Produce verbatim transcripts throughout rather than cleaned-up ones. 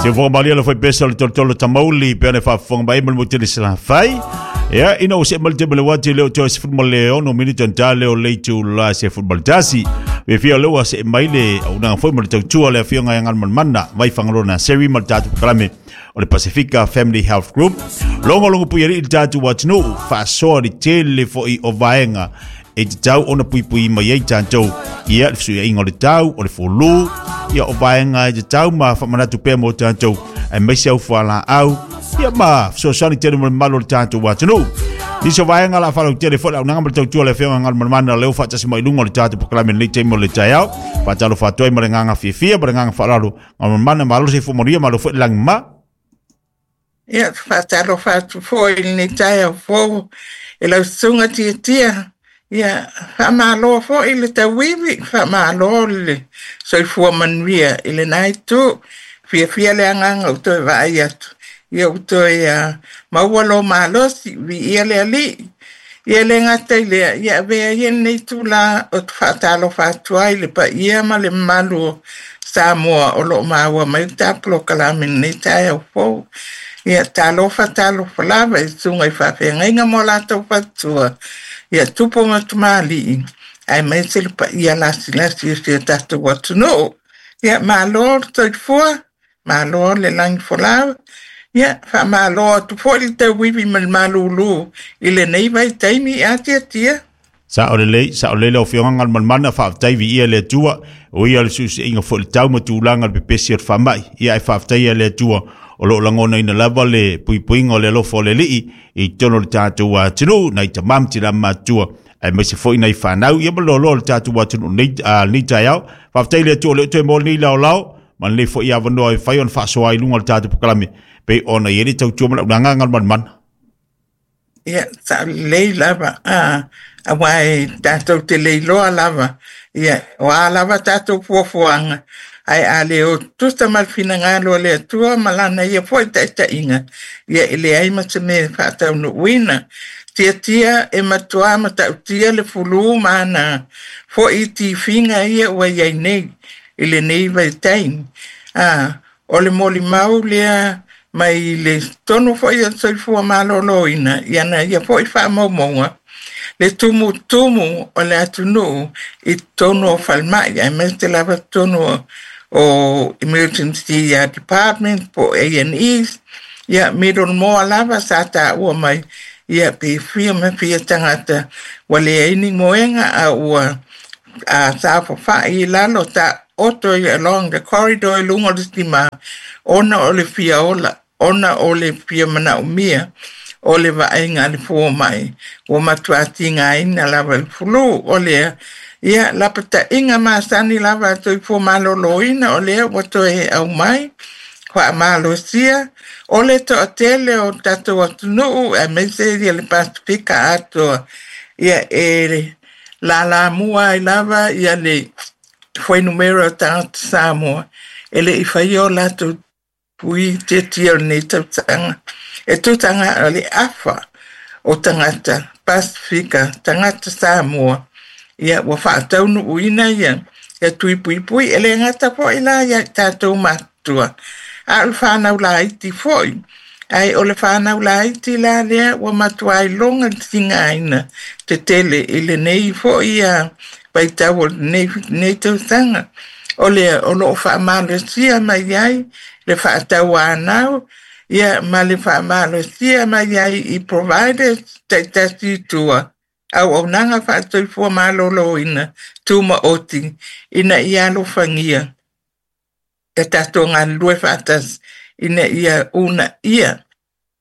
Se fofoga malie le faipesa o le tolotolo tamauli pe ona faafofoga mai ma le motele Salafai. Ia ina ua see mai le taimi o le uati lea o toe sefulu ma le ono minute ona ta lea o le itula sefulu ma le tasi. Fiafia o lea ua see mai le auaunaga foi ma le tautua le afioga ia Galumalemana mai Fagaloa Naseri ma le tatou polokalame o le Pasifika Family Health Group. Logologo puialii le tatou atunuu faasoa le tele foi o vaega e tatau ona puipui mai ai tatou. Ia le fesuiaiga o le tau, o le fulu, ia o vaega e tatau ma faamanatu pea mo tatou aemaise au fualaau, ia ma fesoasoani tele mo le mamalu o le tatou atunuu. Nisi o vaega la faalautele foi le auaunaga ma le tautua le afioga Galumalemana lea ua faatasi mai i luga o le tatou polokalame lenei taimi o le taeao. Faatalofa atu ai ma le agaga fiafia ma le agaga faaaloalo. Galumalemana, malo le soifua manuia, malo foi le lagi mama. Ia, faatalofa atu foi i lenei taeao fou e lau susuga Tiatia. Ia, faamalo foi le tauivi, faamalo le soifua manuia i lena itu. Fiafia le agaga ua toe vaai atu. Ia ua toe uh, maua lo malosi, viia le Alii. Ia le gata i lea, ia avea ia lenei itulā ou te faatalofa atu ai le paia ma le mamalu o Samoa o lo o maua mai le ta polokalame i lenei taeao fou. Ia talofa talofa lava i susuga i faafeagaiga ma o latou faletua, ia tupu ma tamalii, aemaise le paia lasilasi o si o tatou atunuu. Ia malo le soifua, malo le lagi folau. Ia faamalo atu foi le tauivi ma le malūlū i lenei vaitaimi a Tiatia. Sao lelei, sao lelei lau afioga Galumalemana, faafetai viia le Atua, o ia le fesuisuiaiga foi o le tau ma tulaga o le pepesi o le faamai. Ia ae faafetai le Atua o lo o lagonaina lava le puipuiga o le alofa o le Alii i totonu o le tatou atunuu, nai tama ma tina matutua, aemaise foi nai fanau, ia ma le loaloa o le tatou atunuu nei, lenei taeao. Faafetai le Atua o lea ua toe maua lenei laolao ma lenei foi avanoa e fai ona faasoa ai i luga o le tatou polokalame pei ona i ai le tautua ma le auaunaga Galumalemana. Ia, sao lelei lava, a, aua e tatou te le iloa lava, ia, o a lava tatou fuafuaga, ae a le o tutusa ma le finagalo o le Atua ma lana ia foi taitaiga, ia e leai ma se mea e faataunuuina. Tiatia e matuā matautia le fulu ma ana foi tifiga ia ua i ai nei i lenei vaitaimi. A, o le molimau lea mai le totonu foi o le soifua maloloina i ana ia foi faamaumauga, le tumutumu o le atunuu i totonu o falemai, aemaise lava totonu o, o emergency department po o A and E. Ia Middlemore lava sa taua mai, ia pe fia ma fia tagata ua leai ni moega a ua a saofafai i lalo ta oto i along the corridor i luga o le sitima ona o le fia ola, ona o le fia manaomia o le vaaiga a le fomai ua matua tigaina lava i le fulu. O lea, ia lapataiga masani lava a soifua maloloina o lea ua toe aumai faamalosia o le toatele o tatou atunuu aemaise ia le Pasifika atoa. Ia e lalamua ai lava ia le fuainumera o tagata Samoa e le i faia o latou tui tiatia o lenei tausaga. E tusa o le afa o tagata Pasifika, tagata Samoa, ia ua faataunuuina ia ia tui puipui. E le gata foi la ia i tatou matutua, a o le fanau laiti foi. Ae o le fanau laiti la lea ua matua iloga le tigaina tetele i lenei foi ia vaitau o lenei, lenei tausaga. O lea o lo o faamalosia mai ai le faatauanau, ia ma le faamalosia mai ai i providers taitasi i tua, auaunaga faasoifua maloloina tumaoti ina ia alofagia ia tatou galulue faatasi ina ia uunaia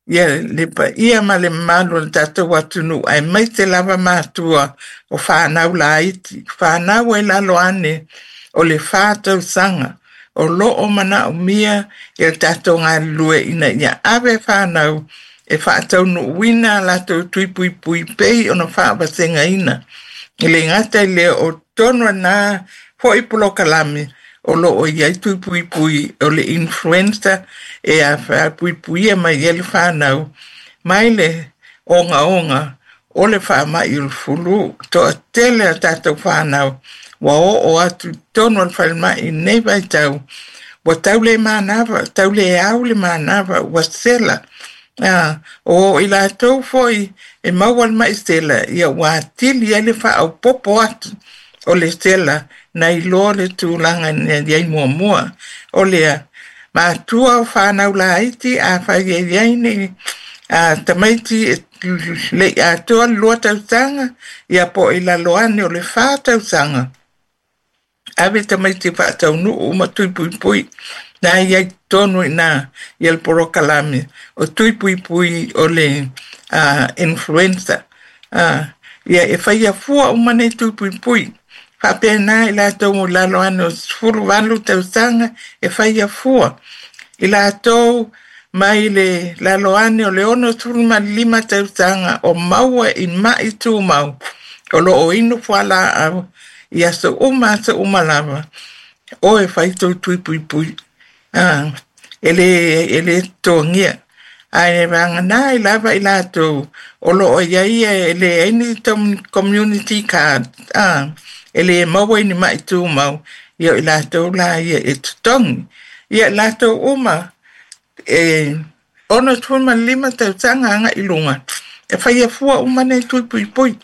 ia le paia ma le mamalu o le tatou atunuu, aemaise lava matua o fanau laiti, fanau e lalo ane o le fa tausaga o lo o manaomia ia tatou galulue ina ia ave fanau e faataunuuina a latou tui puipui pei ona faavasegaina. E le gata i lea o totonu o lena foi polokalame o lo o i ai tui puipui o le influenza e puipuia mai ai le fanau mai le ogaoga o le faamai o le fulu. Toatele a tatou fanau ua oo atu i totonu o le falemai i lenei vaitau Ua tau le manava, tau le au le manava, ua sela. Ah, o i latou foi e maua le mai sela, ia ua atili ai le faaopoopo atu o le sela nai lo le tulaga na i ai muamua. O lea, matua o fanau laiti afai e i ai ni a tamaiti e le i atoa le lua tausaga, ia po o i lalo ane o le fa tausaga, ave tamaiti faataunuu ma tui puipui na i ai totonu i ina ia le polokalame o tui puipui o le uh, influenza. Uh, ia e faia fua uma nei tui puipui. Faapena i latou i lalo ane o sefulu valu tausaga e faia fua. I latou mai le lalo ane o le ono sefulu ma le lima tausaga o maua i mai tumau o lo o inu fualaau i aso uma aso uma lava o e fai tou tui puipui. Ah, e le, e le totogia. Ae vagana ai lava i latou o lo o i ai e leai ni community card. Ah, e le maua i ni mai tumau, ia o i latou la ia e totogi. Ia latou uma e ono sefulu ma le lima tausaga agai i luga, e faia fua uma nei tui puipui.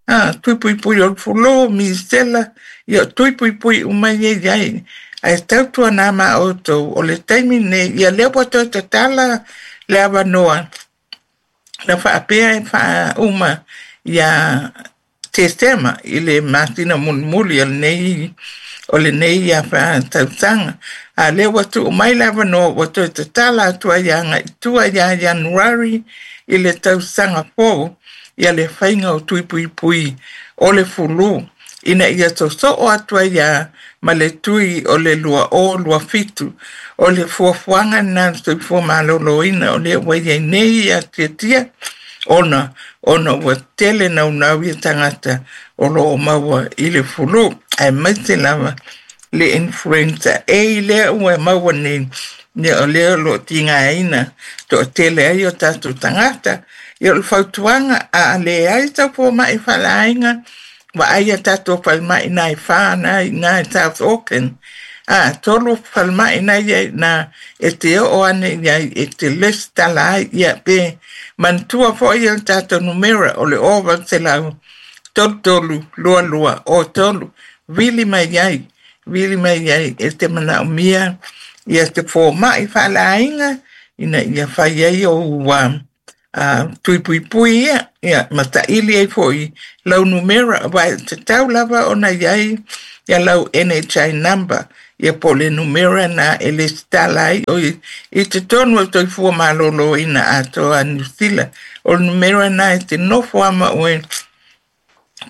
Ah, tui puipui o le fulu, misela, ia tui puipui uma ia i ai. Ae tautuana ma outou o le taimi nei, ia lea ua toe tatala le avanoa na faapea e faauma ia Tesema i le masina mulimuli o lenei o lenei ia tausaga. A lea ua tuu mai le avanoa ua toe tatala atu ai agai i tua ia Ianuari i le tausaga fou ia le faiga o tui puipui o le fulu ina ia sosoo atu ai ia ma le tui o le lua o lua fitu. O le fuafuaga lena a le Soifua Maloloina o lea ua i ai nei ia tiatia ona ona ua tele naunau ia tagata o lo o maua i le fulu, aemaise lava le influenza A lea ua maua nei, ia o lea o lo o tigaina toatele ai o tatou tagata. Ia o le fautuaga a leai sau fomai faaleaiga, vaai a tatou falemai na e fa na i ina i South Auckland. A tolu falemai na ia i ina e te oo ane i ai e te lesitala ai, ia pe manatua foi ia le tatou numera o le o valu selau tolu tolu lua lua o tolu. Vili mai ai, vili mai ai e te manaomia ia te fomai faaleaiga ina ia fai ai ou uh, uh, tui puipui ia, ia ma taili ai foi lau numera, aua e tatau lava ona i ai ia lau N H I number, ia po o le numera na e lesitala ai o i, i totonu o le Soifua Maloloina atoa a Niu Sila. O le numera na e te nofo ama oe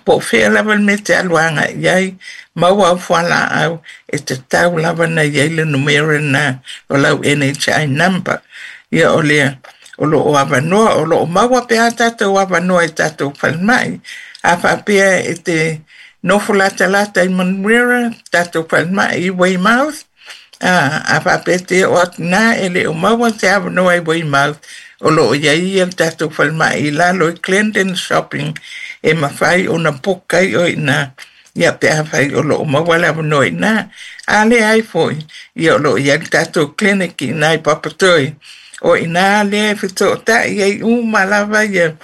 po o fea lava le mea te alu agai i ai, maua au fualaau e tatau lava na i ai le numera na o lau N H I number. Ia o lea o lo o avanoa, o lo o maua pe a tatou avanoa i tatou falemai. A faapea e te nofo latalata i Manurewa, tatou falemai i Weymouth, a, a faapea te oo atu na e le o maua se avanoa i Weymouth, o lo o i ai ia le tatou falemai i lalo i Glendon Shopping e mafai ona book ai o i ina, ia pe afai o lo o maua le avanoa i ina. A leai foi, ia o lo o i ai le tatou clinic i ina i Papatoetoe, o ina lea e fesoatai ai uma lava ia,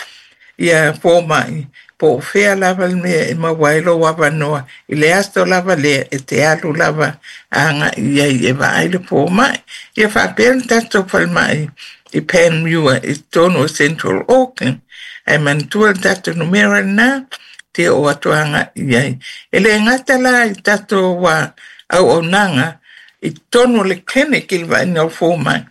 ia fomai, po o fea lava le mea e maua ai lou avanoa, i le aso lava lea e te alu lava agai i ai e vaai le fomai. Ia faapea le tatou falemai i Panmure i totonu o Central Auckland. Ae manatua le tatou numera lena te oo atu agai i ai. E le gata la i tatou uh, auaunaga i totonu o le clinic i le vaaiga o fomai,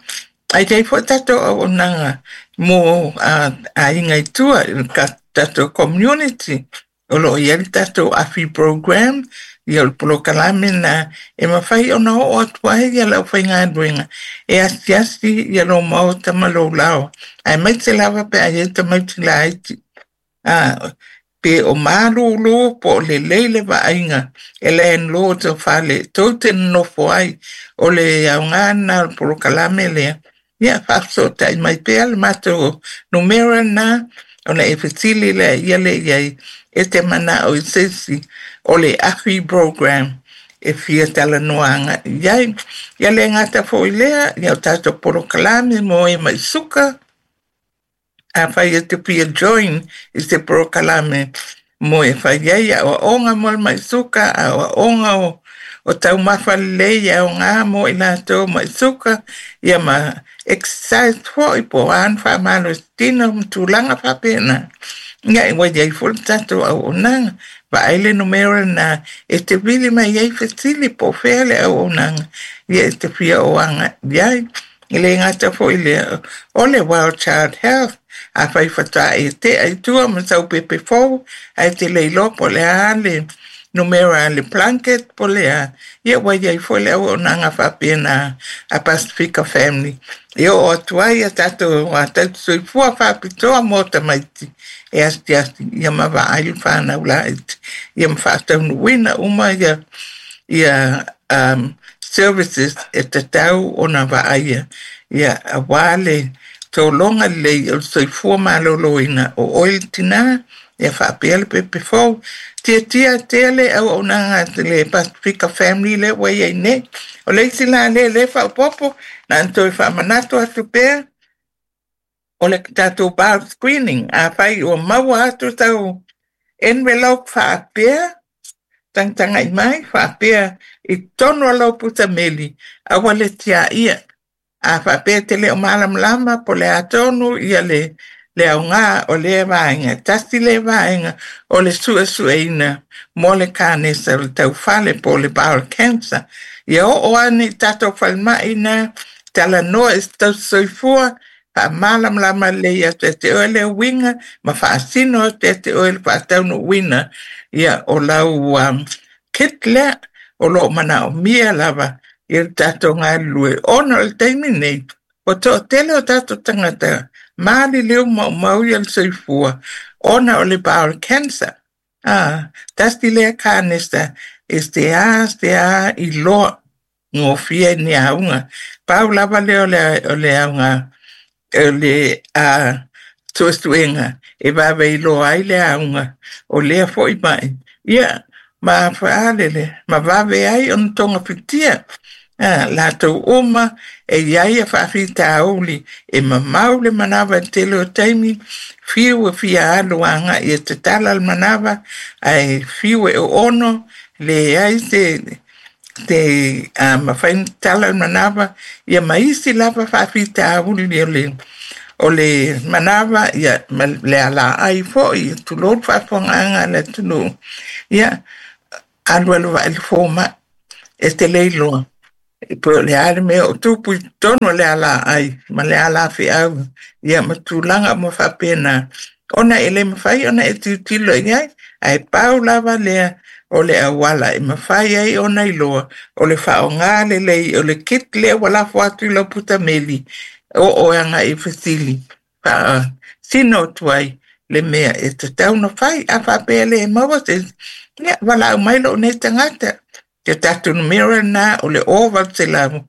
ai i ai foi tatou auaunaga mo uh, aiga i tua, i le tatou community. O lo o i ai le tatou A F I program, ia o le polokalame na e mafai ona oo atu ai ia le aufaigaluega e asiasi ia lou maota ma lou lao, aemaise lava pe a i ai tamaiti laiti. Ah, pe o malūlū po o lelei le vaaiga e landlord o fale tou te nonofo ai, o le aoga lena o le polokalame lea. Ia faafesootai mai pea le matou numera lena ona e fesili lea ia le i ai e te manao i se isi o le A F I program e fia talanoaga i ai. Ia le gata foi lea, ia o tatou polokalame mo e mai suka, afai e te fia join i se polokalame mo e fai ai aoaoga mo le mai suka, aoaoga o o taumafa lelei e aoga mo i latou mai suka, ia ma exercise foi po o a ni faamalositino ma tulaga faapena. Ia e ua iai foi le tatou auaunaga. Vaai le numera lena e te vili mai ai fesili po o fea le auaunaga ia e te fia o aga i ai. E le gata foi lea, o le Well Child Health, afai faatoa e tea i tua ma sau pepe fou, ae te le iloa po o le a le numera le blanket po o le a, ia ua iai foi le auaunaga faapena a Pasifika Family. E oo atu ai a tatou tausisoifua faapitoa mo tamaiti e asiasi ia ma vaai le fanau laiti, ia ma faataunuuina uma ia ia um, services e tatau ona vaaia ia auā le tologa lelei o le soifua malōlōina o oe le tinā ia faapea le pepe fou. Tiatia tele auaunaga a le Pasifika Family lea ua iai nei. O le isi la lea lea faaopoopo na ona toe faamanatu atu pea o le tatou bowel screening. Afai ua maua atu sau envelope faapea, tagatagai mai faapea i totonu o lau pusa meli, aua le tiaia. A faapea e te le o malamalama po o le a tonu ia le le aoga o lea vaega. Tasi lea vaega o le suesueina mo le kanesa o le taufale po o le bowel cancer. Ia oo ane i tatou falemai na, talanoa i se tausisoifua, faamalamalama lelei atu ia te oe le uiga ma faasino atu ia te oe le faataunuuina ia o lau um, kit lea o lo o manaomia lava i le tatou galulue. Ona o le taimi nei, ua toatele o tatou tagata maliliu maumau ia le soifua ona o le bowel cancer. Ah, tasi lea kanesa e seā seā iloa gofie i ni auga. Pau lava lea o le, o le auga o le uh, suesuega e vave iloa ai le auga o lea foi mai. Ia, ma faalele, ma vave ai ona togafitia. Ah, latou uma e iai a faafitauli e mamau le manava i le tele o taimi, fiu e fia alu agai e tatala le manava, ae fiu e oono, leai se te uh, mafai ona tatala le manava, ia ma isi lava faafitauli o le o le manava, ia ma le alaai foi, tulou le faafofogaaga a le atunuu. Ia, alualu vaai le fomai, e te le iloa. E po o le a le mea o tupu i totonu o le alaai ma le alafeau, ia ma tulaga uma faapena. Ona e le mafai ona e tilotilo i ai, ae pau lava lea o le auala e mafai ai ona iloa o le faaaoga lelei o le kit lea ua lafo atu i lau putameli, oo e agai i fesili faasino atu ai le mea e tatau ona fai. A faapea e le maua se isi, ia valaau mai lou nei tagata. Ke tatou numera lena o le o valu selau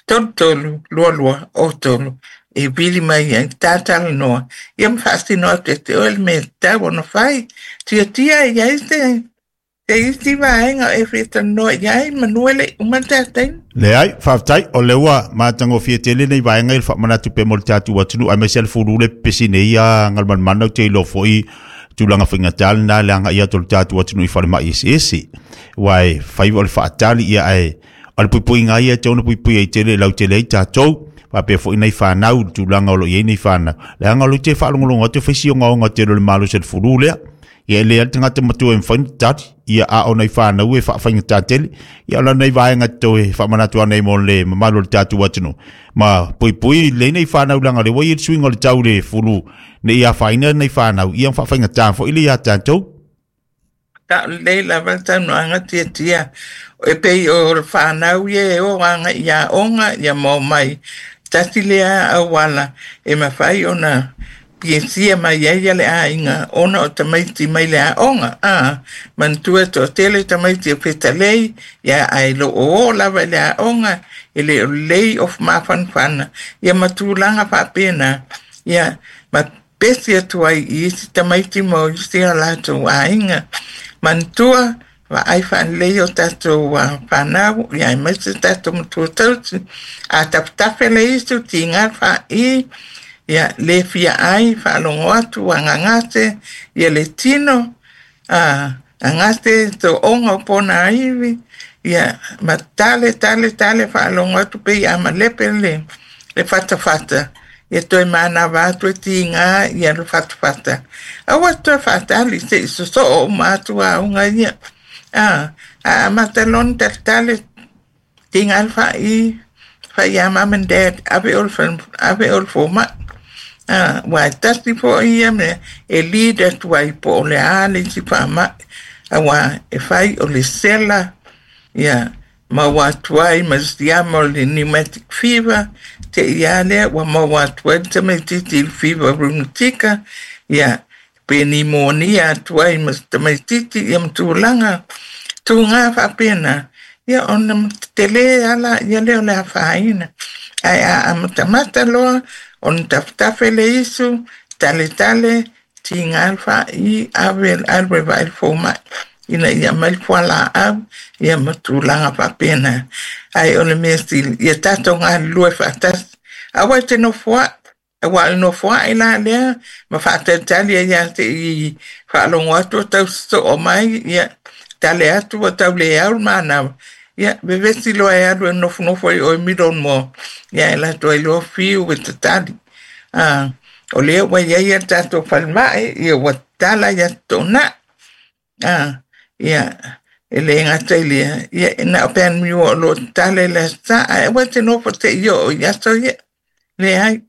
tolu tolu lua lua o tolu e vili mai ai tatalanoa ia ma faasino atu ia te oe le mea e tatau ona fai. Tiatia e iai se se isi vaega e fia talanoa i ai manu e le i uma le tatou. Leai, faafetai, o lea ua matagofie tele nei vaega i le faamanatu pea mo le tatou atunuu, aemaise lava le fulu le pepesi nei ia Galumalemana ou te iloa foi tulaga faigata lena le agai atu o le tatou atunuu i falemai eseese. Aua e fai o le faatali ia ae o le puipuiga ia e tatau ona puipui ai tele e lautele ai tatou faapea foi nai fanau i le tulaga o lo o i ai nei fanau. Leaga o lea ou te faalogologo atu e fai si ogaoga tele o le malosi o le fulu lea. Ia e le ai le tagata matua e mafai ona tali, ia a o nai fanau e faafaigata tele. Ia o la nei vaega toe faamanatu ane ai mo le mamalu o le tatou atunuu. Ma puipui lelei nei fanau leaga o lea ua i ai le suiga o le tau i le fulu ne i afaina nei fanau, ia ma faafaigata foi le ia tatou. Sao lelei lava le saunoaga tiatia e pei o le fanau ia e o agai i aoga ia ma omai. Tasi lea auala e mafai ona piesia mai ai le aiga ona o tamaiti mai le aoga. A manatua e toatele tamaiti o fetalei, ia ae lo o o lava i le aoga, e le o lelei o mafanafana, ia ma tulaga faapena, ia ma pesi atu ai i isi tamaiti ma isi o latou aiga. Manatua Vaai faalelei o tatou fanau, ia aemaise tatou matua tausi. A tafetafe le isu, tiga le fa'i, ia le fia ai, faalogo atu ua gagase, ia le tino, a gagase to'oga o pona ivi, ia ma tale tale tale faalogo atu pei a malepe le le fatafata. Ia toe manava atu e tiga ia le fatafata. Aua toe faatali se'i sosoo uma atu auga ia. A a amata loa ona taletale tiga le fa'i, fai ia mum and dad, ave oe ave oe i le foma'i. A ua e tasi fo'i ia mea e lead atu ai po o le a le isi faama'i, auā e fai o le sela, ia maua atu ai ma le siama o le pneumatic fever, te'i lava lea ua maua atu ai le tamaitiiti i le fever rheumatica, ia pe nimonia atu ai ma se tamaitiiti ia ma tulaga tuga faapena, ia ona tetele ala ia lea o le afaina. Ae a amatamata loa ona tafetafe le isu, taletale, tiga le fa'i, ave alu e vaai le foma'i ina ia aumai le fualaau, ia ma tulaga faapena. Ae o le mea sili, ia tatou galulue faatasi. Aua e te nofoa'i, auā o le nofoa'i la lea ma faatalitali ai lava se'i faalogo atu o tau sosoo mai, ia tale atu ua tau le au le manava, ia vevesi loa e alu e nofonofo ai i o i Middlemore, ia e latou ai loa fiu e tatali. A o lea ua i ai a tatou falemai, ia ua tatala i Aso Toonai. A ia e le gata i lea, ia na o Panmure o lo o tatala i le Aso Sa, ae aua e te nofo se'i oo i aso ia. Leai,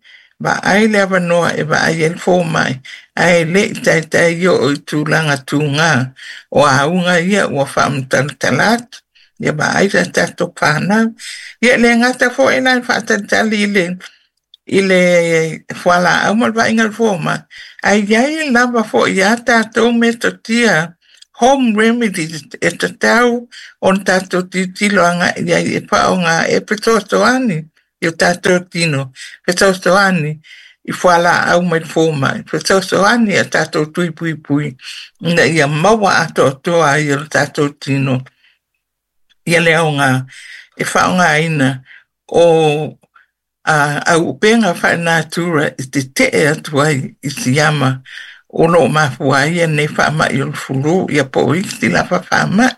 vaai le avanoa e vaai ai le fomai, ae le i taitai oo i tulaga tuga o auga ia ua faamatalatala atu. Ia vaai sa tatou fanau. Ia e le gata foi la i le faatalitali i le i le fualaau ma le vaaiga o le fomai, ae i ai lava foi a tatou metotia home remedies e tatau ona tatou tilotilo agai i ai e faaaoga e fesoasoani i o tatou tino, fesoasoani i fualaau mai le fomai, fesoasoani i a tatou tui puipui ina ia maua atoatoa ai e lo tatou tino ia le aoga e faaaogaina o a auupega faalenatura e tetee atu ai i siama o lo o mafua ai lenei faama'i o le flu, ia po o isi lava faama'i.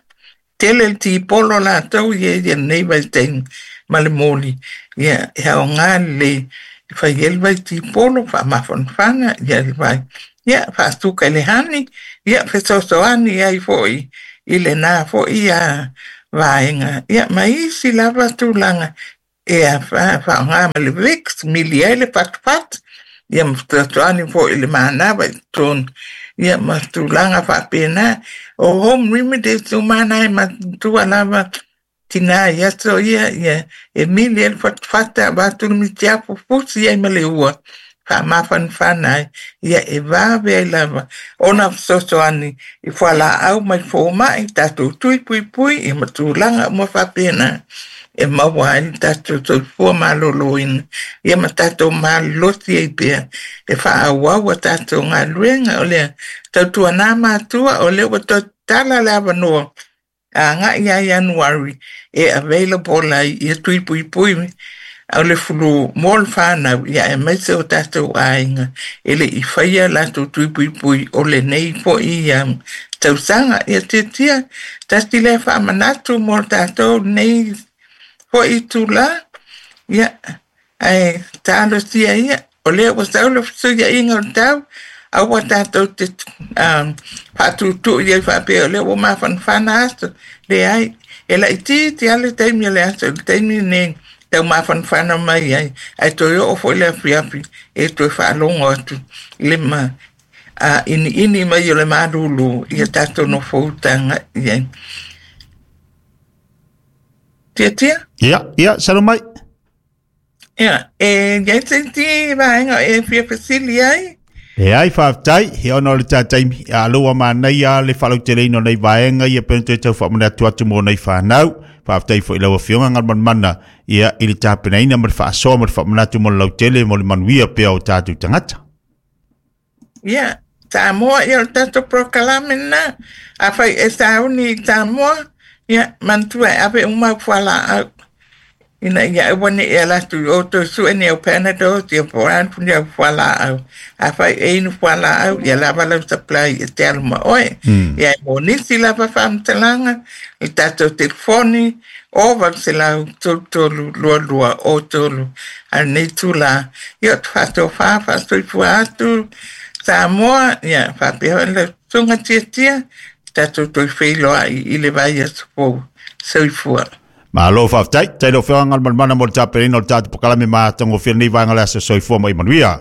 Tele le tipolo latou ia i lenei vaitaimi ma le moli, ia e aoga lelei e fai ai le vai tipolo, faamafanafana ia le vai, ia faasuka i le hani, ia fesoasoani ai foi i lena foi a vaega, ia ma isi lava tulaga e faaaoga ma le Vicks, mili ai le fatufatu, ia ma fesoasoani foi i le manava i totonu, ia ma tulaga faapena. O home remedies uma na e matutua lava tina i aso ia, ia e mili ai le fatufata, avatu le mitiafu, fusi ai ma le ua, faamafanafana ai, ia e vave ai lava ona fesoasoani i fualaau mai fomai, tatou tui puipui, ia ma tulaga uma faapena e maua ai le tatou soifua maloloina, ia ma tatou malolosi ai pea e faaauau a tatou galuega. O lea tautuana matua, o lea ua toe tatala le avanoa agai ia Ianuari e available ai ia tui puipui o le flu mo le fanau, ia aemaise o tatou aiga e le i faia latou tui puipui o lenei foi ia tausaga. Ia tiatia tasi lea faamanatu mo tatou lenei foi itulā, ia ae talosia ia o lea ua sau le fesuiaiga o le tau, aua tatou te faatutu'i ai faapea o lea ua mafanafana aso. Leai, e laitiiti lava le taimi o le aso i le taimi lenei tau mafanafana mai ai, ae toe oo foi le afiafi e toe faalogo atu i le ma a iniini mai o le malulu ia tatou nofoutaga i ai. Tiatia? Ia, ia, saunoa mai. Ia, e iai se isi vaega e fia fesili ai? Leai, faafetai, ia ona o le taitaimi, a lea ua manaia le faalauteleina o nei vaega ia pe ona toe tau faamanatu atu mo nei fanau. Faafetai foi i lau Afioga Galumalemana ia i le tapenaina ma le faasoa ma le faamanatu mo le lautele mo le manuia pea o tatou tagata. Ia, Samoa, ia o le tatou polokalame lena. Afai e sauni i Samoa, ia manatua e ave uma au fualaau ina ia aua ne i ala atu i o toe sue ni au Panadol, ia po o a ni au fualaau. Afai e inu fualaau, ia lava lau supply e te alu ma oe. Ia e mo nisi lava faamatalaga, le tatou telefoni, o valu selau tolu tolu lua lua o tolu. A o lenei itulā, ia ou te faatofā faasoifua atu Samoa, ia faapea foi lau susuga Tiatia, tatou toe feiloai i le vaiaso fou. Soifua. Malo faafetai. Tai lau Afioga Galumalemana mo le tapenaina o le tatou polokalame matagofie lenei vaega o le aso. Soifua ma ia manuia.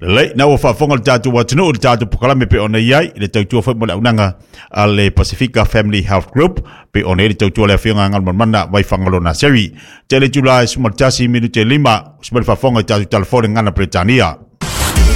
Lelei, na ua faafofoga le tatou atunuu i le tatou polokalame pe ona i ai, i le tautua foi mo le auaunaga a le Pasifika Family Health Group, pe ona i le tautua le Afioga Galumalemana Vaifagaloa Naseri. Tele itula e sefulu ma le tasi minute lima, usima le faafofoga i tatou telefoni Gana Peretania.